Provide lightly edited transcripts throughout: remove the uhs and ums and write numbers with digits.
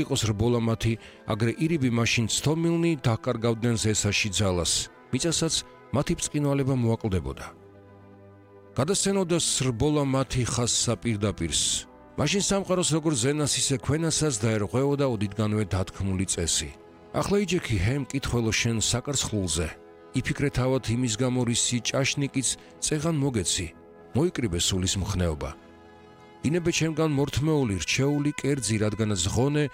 იყოს რბოლა მათი, აგრე ირიბი მაშინ ცდომილნი დაკარგავდნენ ზესაში ძალას, მიწასაც მათი ბრწყინვალება მოაკლდებოდა. გადასცენოდა რბოლა მათი ხაზსა პირდაპირს. მაშინ სამყაროს როგორც ზენას ისე ქვენასაც დაერღვეოდა ოდითგანვე დათქმული წესი. ახლა იჯექი ჰემ მკითხველო შენ საკარცხლულზე. იფიქრე თავად იმის გამო რისი ჭაშნიკიც წეღან მოგეცი, მოიკრიბე სულის მხნეობა. ინებე ჩემგან მორთმეული რჩეული კერძი, რადგანაც ღონე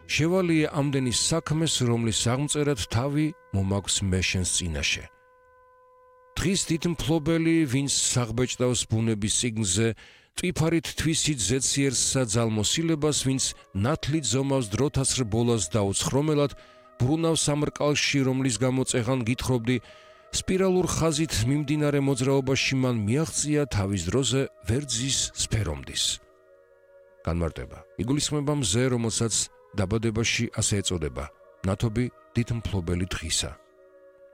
შევალიე ამდენი საქმეს, რომლის აღმწერად თავი მომაქვს მე შენს წინაშე. დღის დიდ მფლობელი, ვინც საღბეჭდავს ბუნების სიგნზე, ტვიფარით თვისით ზეციერსა ძალმოსილებას, ვინც ნათლით ზომავს დროთას რბოლას დაუცხრომელად, ბრუნავს ამ რკალში, რომლის გამო წეღან გითხრობდი, სპირალურ ხაზით მიმდინარე მოძრაობაში მან მიაღწია თავის დროზე ვერძის სფერომდის. განმარტება. იგულისხმება მზე, რომელსაც დაბადებაში ასე ეწოდება, ნათობი დიდ მფლობელი დღისა.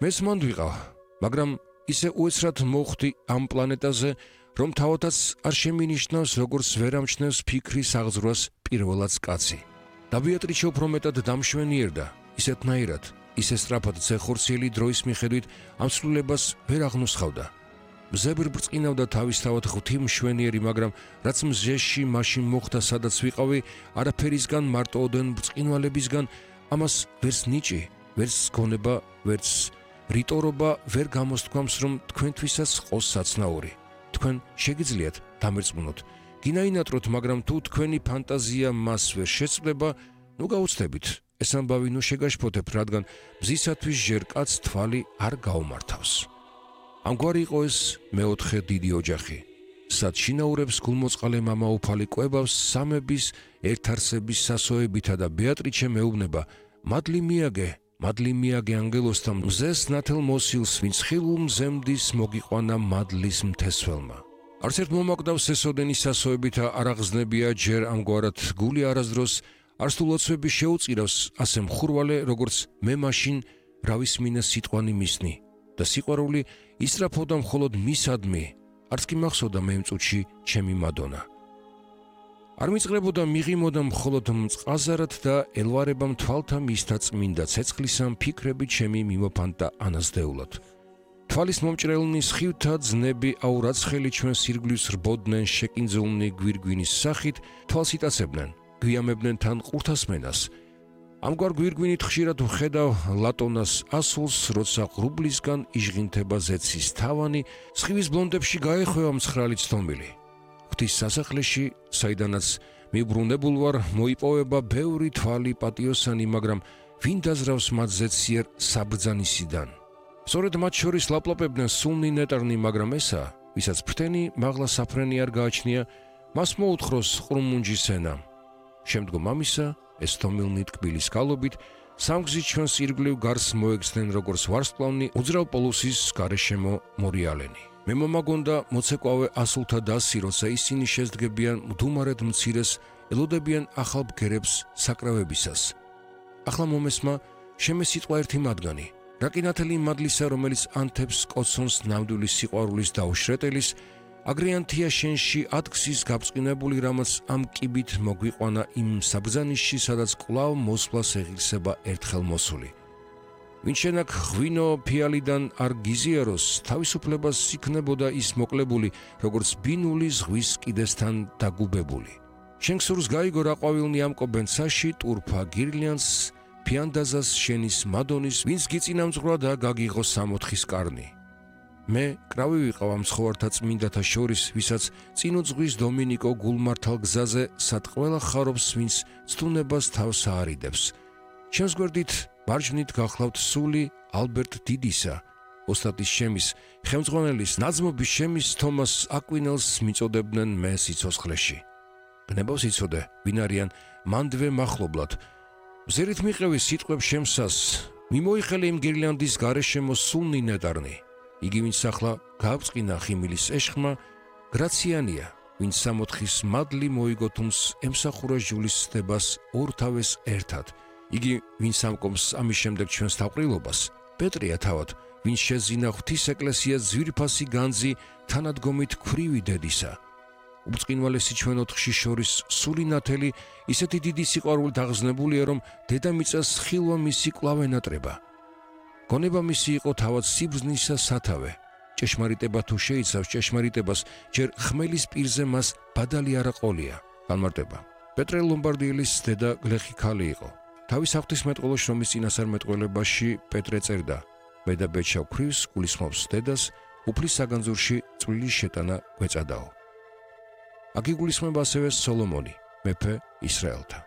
მეც მანდ ვიყავ, მაგრამ ისე უეცრად მოხვდი ამ პლანეტაზე, რომ თავადაც არ შემინიშნავს, როგორც ვერ ამჩნევს ფიქრის აღძვრას პირველად კაცი. და ბეატრიჩე უფრო მეტად დამშვენიერდა, ისეთნაირად, ისე სწრაფად ზეხორციელი დროის მიხედვით ამ ცვლილებას ვერ აღნუსხავდა. მზე ბრწყინავდა თავისთავად ღვთი მშვენიერი, მაგრამ რაც მზეში მაშინ მოხდა, სადაც ვიყავი, არაფერისგან, მარტო ოდენ ბრწყინვალებისგან, ამას ვერც ნიჭი, ვერც გონება, ვერც რიტორობა ვერ გამოსთქვამს, რომ თქვენთვისაც ყოს საცნაური. თქვენ შეგიძლიათ დამერწმუნოთ, გინაინატროთ, მაგრამ თუ თქვენი ფანტაზია მას ვერ შეწყვდება, ნუ გაუცდებით, ეს ამბავი ნუ შეგაშფოთებთ, რადგან მზისათვის ჯერ კაც თვალი არ გაუმართავს. ამგვარი იყო ეს მეოთხე დიდი ოჯახი. სად შინაურებს გულმოწყალე მამა უფალი კვებავს სამების ერთარსების სასოებითა და ბეატრიჩე მეუბნება, მადლი მიაგე ანგელოსთან მზეს ნათელ მოსილს, ვინც ხილულ მზემდის მოგიყვანა მადლის მთესველმა. არც ერთ მომაკვდავს ესოდენი სასოებითა არ აღზნებია ჯერ ამგვარად გული არასდროს, არც თუ ლოცვები შეუწირავს ასე მხურვალე, როგორც მე მაშინ რავისმინე სიტყვანი მისნი და სიყვარული ისრაფოდა მხოლოდ მისადმი, არც კი მახსოვდა მე იმ წუთში ჩემი მადონა. არ მიწყრებოდა მიღიმოდა მხოლოდ მწყაზარად და ელვარებამ თვალთა მისთა წმინდა ცეცხლისამ ფიქრები ჩემი მიმოფანტა ანაზდეულად. თვალის მომჭრელნი სხივთა ძნები აურაცხელი ჩვენ სირგლის რბოდნენ შეკინძულნი გვირგვინის სახით, თვალს იტაცებდნენ, გვიამებდნენ თან ყურთასმენას. ამგვარ გვირგვინით ხშირად ვხედავ ლატონას ასულს, როცა ღრუბლისგან იჟღინთება ზეცის თავანი, სხივის ბლონდებში გაეხვევა მცხრალი ცდომილი. ღვთის სასახლეში, საიდანაც მიბრუნებულ ვარ, მოიპოვება ბევრი თვალი პატიოსანი, მაგრამ ვინ დაზრავს მათ ზეციერ საბრძანისიდან? სწორედ მათ შორის ლაპლაპებდნენ სულნი ნეტარნი, მაგრამ ესა, ვისაც ფრთენი მაღლა საფრენი არ გააჩნია, მას მოუთხროს ყრუმუნჯის ენა. შემდგომ ამისა, ეს თომილნი ტკბილის გალობით, სამგზით ჩვენს ირგვლივ გარს მოეგზდნენ, როგორც ვარსკვლავნი უძრავ პოლუსის გარეშემო მორიალენი. მე მომაგონდა მოცეკვავე ასულთა დასი, როცა ისინი შეძდგებიან მდუმარედ მცირეს, ელოდებიან ახალ ბგერებს საკრავებისას. ახლა მომესმა შემესიტყვა ერთი მათგანი, რაკინათელი მადლისა, რომელიც ანთებს კოცონს ნამდვილი სიყვარულის დაუშრეტელის, აგრიანთია შენში ადგსის გაბწყინებული, რამაც ამ კიბით მოგვიყვანა იმ საბრძანიშში, სადაც კვლავ მოსვლას ეღირსება ერთხელ მოსული. ვინ შენაკ ღვინო ფიალიდან არ გიზიაროს, თავისუფლებას იქნებოდა ის მოკლებული, როგორც ბინული ზღვის კიდესთან დაგუბებული. შენ ქსურს გაიგო რა ყვავილნი ამკობენ ცაში, ტურფა გირლიანს, ფიანდაზას შენის მადონის, ვინც გიწინამძღვრა და გაგიღო 64 კარნი. მე კრავი ვიყავ ამ ცხოვართა წმინდათა შორის, ვისაც წინუძღვის დომინიკო გულმართალ გზაზე სად ყველა ხარობს, ვინც ცდუნებას თავს აარიდებს. ჩემს გვერდით მარჯვნით გახლავთ სული ალბერტ დიდისა, ოსტატის შემის, ხელმძღვანელის ნაძმობის შემის თომას აკვინელს მიწოდებდნენ მე სიცოცხლეში. ბნებავს იცოდე, ვინ არიან მანდვე მახლობლად. ზერით მიყევი სიტყვებს შემსას, მიმოიხელე იმ გირლიანდის გარეშემო სულნი ნეტარნი. იგი ვინც ახლა გააბწყინა ხიმილის ეშხმა, გრაციანია, ვინც სამოთხის მადლი მოიგო, თუმს ემსახურა ჟულის ცდებას ორთავეს ერთად. იგი ვინც ამკობს ამის შემდეგ ჩვენს თავყრილობას, პეტრია თავად, ვინც შეძინა ღვთის ეკლესიას ძვირფასი განძი თანადგომით ქვრივი დედისა. უბწყინვალესი ჩვენ ოთხში შორის სული ნათელი ისეთი დიდი სიყვარულით აღზნებულია, რომ დედამიწას ხილვა მისი კვლავ ენატრება. გონება მისი იყო თავად სიბრძნისა სათავე. ჭეშმარიტება თუ შეიცავს ჭეშმარიტებას, ჯერ ხმელის პირზე მას ბადალი არ აყოლია. განმარტება. პეტრე ლომბარდიელის დედა გლეხი ქალი იყო. თავის ღვთისმეტყველო შრომის წინასწარმეტყველებაში პეტრე წერდა: მე და ბეჭდავ ქრივს გულისხმობს დედას, უფლის საგანძურში წვრილი შეტანა გვეწადაო. აქ იგულისხმება ასევე სოლომონი, მეფე ისრაელთა.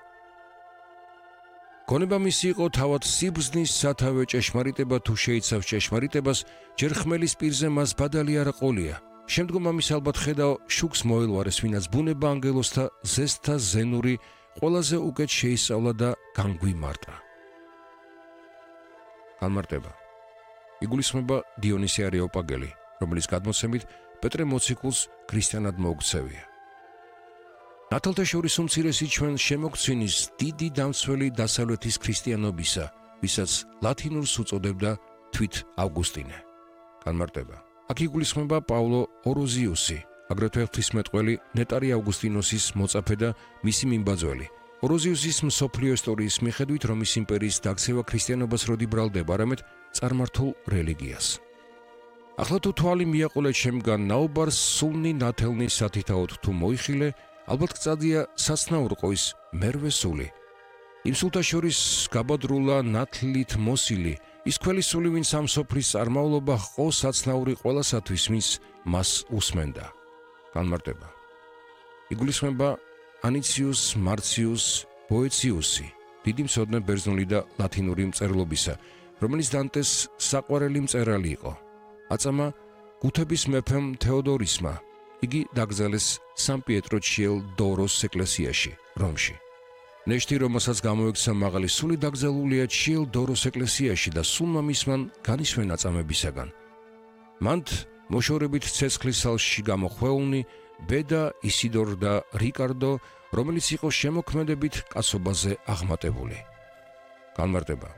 გონება მისი იყო თავად სიბრძნის სათავე, ჭეშმარიტება თუ შეიცავს ჭეშმარიტებას, ჯერ ხმელის პირზე მას ბადალი არ აყოლია. შემდგომ ამის ალბათ ხედავ შუქს მოელვარეს, ვინაც ბუნება ანგელოზთა ზესთა ზენური ყველაზე უკეთ შეისწავლა და განგვიმარტა. განმარტება. იგულისხმება დიონისე არეოპაგელი, რომელიც გადმოცემით პეტრე მოციქულს ქრისტიანად მოუქცევია. ნათელთა შორის უმცირესი ჩვენ შემოგცინის დიდი დამცველი დასავლეთის ქრისტიანობისა, ვისაც ლათინურს უწოდებდა თვით ავგუსტინე. განმარტება. აქ იგულისხმება პავლო ოროზიუსი, აგრეთვე ღვთისმეტყველი ნეტარი ავგუსტინოსის მოწაფე და მისი მიმბაძველი. ოროზიუსის მსოფლიო ისტორიის მიხედვით რომის იმპერიის დაქცევა ქრისტიანობას როდი ბრალდება, არამედ წარმართულ რელიგიას. ახლა თუ თვალი მიაყოლე ჩემგან ნაუბარს სულნი ნათელნი სათითაოდ თუ მოიხილე, ალბათ გწადია საცნაურყო ის მერვე სული. იმ სულთა შორის გაბადრულა ნათლით მოსილი, ის ქველი სული, ვინც ამ სოფლის წარმავლობა ჰყო საცნაური ყველასათვის, ვინც მას უსმენდა. განმარტება. იგულისხმება ანიციუს მარციუს ბოეციუსი, დიდი მცოდნე ბერძნული და ლათინური მწერლობისა, რომელიც დანტეს საყვარელი მწერალი იყო. აწამა გუთების მეფემ თეოდორისმა. იგი დაკრძალეს სან-პიეტრო-ჩიელ დოროს ეკლესიაში, რომში. ნეშტი, რომელსაც გამოექცა მაღალი სული, დაკრძალულია ჩიელ დოროს ეკლესიაში და სულმა მისმან განისვენა წამებისაგან. მანდ მოშორებით ცეცხლის სალში გამოხვეულნი ბედა, ისიდორ და რიკარდო, რომელიც იყო შემოქმედებით კაცობაზე აღმატებული. განმარტება.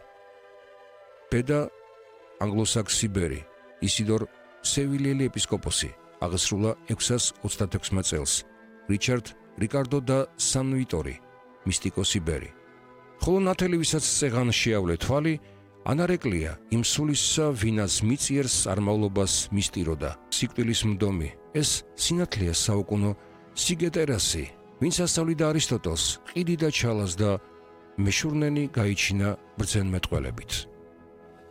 ბედა ანგლოსაქსი ბერი, ისიდორ სევილიელი ეპისკოპოსი, აღესრულა 626 წელს, რიჩარდ რიკარდო და სან-ვიტორი, მისტიკოსი ბერი. ხოლო ნათელი, ვისაც წეღან შეავლე თვალი, ანარეკლია იმ სულისა, ვინაც მიწიერს წარმავლობას მისტიროდა, სიკვდილის მდომი, ეს სინათლეა საუკუნო სიგეტერასი, ვინც ასწავლიდა არისტოტელს, ყიდი და ჩალას და მეშურნენი გაიჩინა ბრძენმეტყველებით.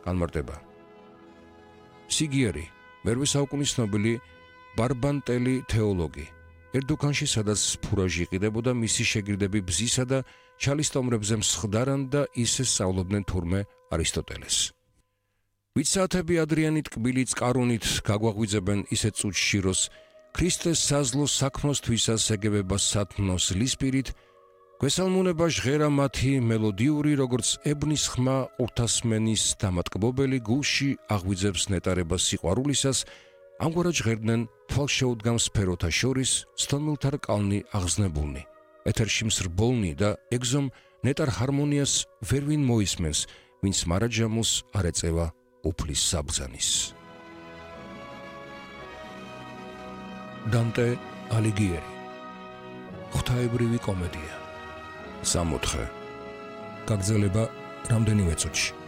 განმარტება. სიგიერი, მერვე საუკუნის ცნობილი ბარბანტელი თეოლოგი. ერდუქანში, სადაც ფურაჟი იყიდებოდა, მისი შეგირდები ბზისა და ჩალის სტომრებზე მსხდარან და ისე სწავლობდნენ თურმე არისტოტელეს. ვიცათები ადრიანით კბილი წყარუნით გაგვაღვიძებენ ისეთ წუთში, როს ქრისტეს საზლო საქმოსთვისას ეგებება სათნოს ლისპირით, გვესალმუნება ჟღერა მათი მელოდიური, როგორც ებნის ხმა ყურთასმენის დამატკბობელი გულში აღვიძებს ნეტარებას სიყვარულისას, ამგვარად ჟღერდნენ თვალშეუდგამ სფეროთა შორის სტონმილთა რკალნი აღზნებულნი. ეთერში მსრბოლნი და ეგზომ ნეტარ ჰარმონიას ვერვინ მოისმენს, ვინც მარაჯამოს არ ეწევა უფლის საბრძანის. დანტე ალიგიერი. ღვთაებრივი კომედია. 64. გაგრძელება რამდენიმე წუთში.